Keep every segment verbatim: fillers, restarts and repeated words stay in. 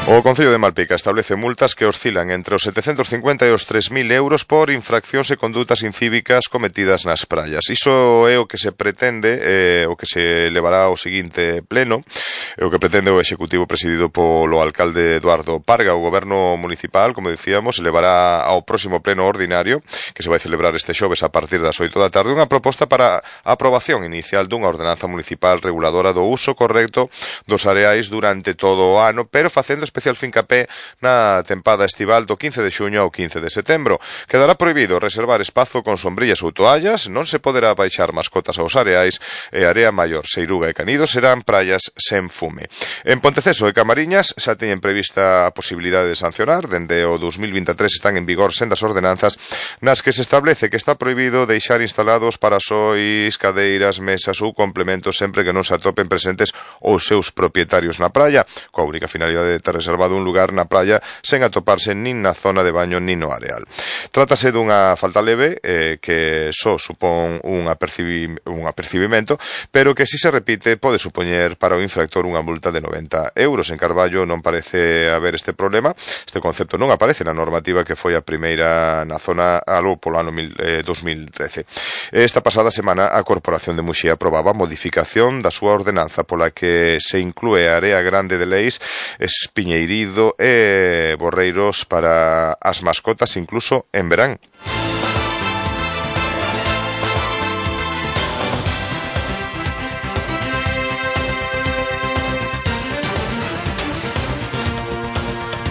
O Concello de Malpica establece multas que oscilan entre os setecentos cincuenta e os tres mil euros por infraccións e condutas incívicas cometidas nas praias. Iso é o que se pretende, eh, o que se levará ao seguinte pleno, é o que pretende o Executivo presidido polo alcalde Eduardo Parga. O Goberno Municipal, como dicíamos, levará ao próximo pleno ordinario, que se vai celebrar este xoves a partir das oito da tarde, unha proposta para a aprobación inicial dunha ordenanza municipal reguladora do uso correcto dos areais durante todo o ano, pero facendo especial fincapé na tempada estival do quince de xuño ao quince de setembro. Quedará prohibido reservar espazo con sombrillas ou toallas, non se poderá baixar mascotas aos areais e Area Maior, Seiruga e Canido serán praias sen fume. En Ponteceso e Camariñas xa teñen prevista a posibilidade de sancionar. Dende o dos mil vinte e tres están en vigor sendas ordenanzas nas que se establece que está prohibido deixar instalados parasois, cadeiras, mesas ou complementos sempre que non se atopen presentes os seus propietarios na praia, coa única finalidade de ter reservado un lugar na praia sen atoparse nin na zona de baño nin no areal. Trátase dunha falta leve eh, que só supón un, apercibi, un apercibimento, pero que si se repite pode supoñer para o infractor unha multa de noventa euros. En Carballo non parece haber este problema. Este concepto non aparece na normativa que foi a primeira na zona aló polo ano mil, eh, dos mil trece. Esta pasada semana a Corporación de Muxía aprobaba a modificación da súa ordenanza pola que se inclúe a área grande de Leis, Espiñeirido e Borreiros para as mascotas incluso en verán.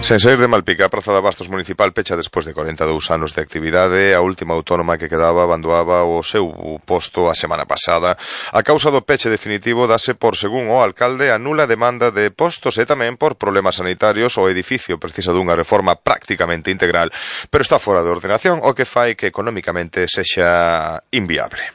Sen saír de Malpica, a Praza de Abastos Municipal pecha despois de corenta e dous anos de actividade. A última autónoma que quedaba abandoaba o seu posto a semana pasada. A causa do peche definitivo dase por, según o alcalde, a nula demanda de postos e tamén por problemas sanitarios. O edificio precisa dunha reforma prácticamente integral, pero está fora de ordenación, o que fai que economicamente sexa inviable.